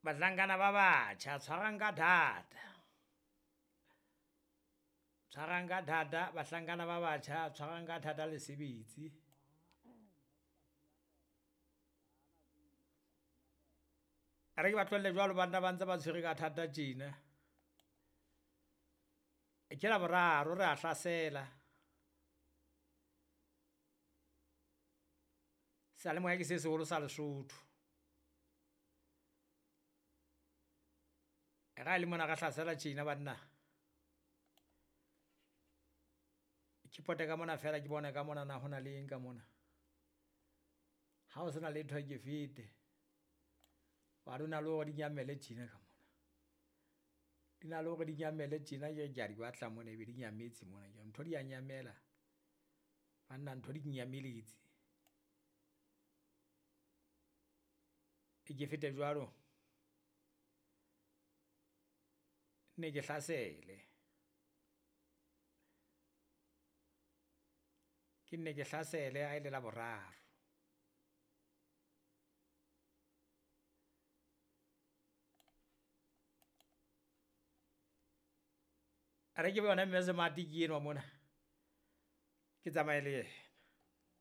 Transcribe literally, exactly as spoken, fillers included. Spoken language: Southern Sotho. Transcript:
Bahlankana ba batjha tshwarang ka thata. Tshwarang ka thata bahlankana ba batjha tshwarang ka thata le sebetse. A re ke ba tlohelle jwalo banna ba ntse ba tshwere ka thata tjena. Ke Laboraro re a hlasela. Seyalemoya ke se seholo sa Lesotho. Ra le mona re hlasela tjena banna. Ke pote ka mona fela ke bone ka mona na hona le eng ka mona. Ha o sena letho ke fete. Wa di na le hore di nyamele tjena ka mona. Di na le hore di nyamele tjena ke ke a di batla mona ebe di nyametse mona. Ke ntho di a nyamela. Banna ntho di nyameletse. Ke fete jwalo, nne ke hlasele. Ke nne ke hlasele ha ele Laboraro. A re ke yona Mme Smart ke enwa mona. Ke tsamaye le yena.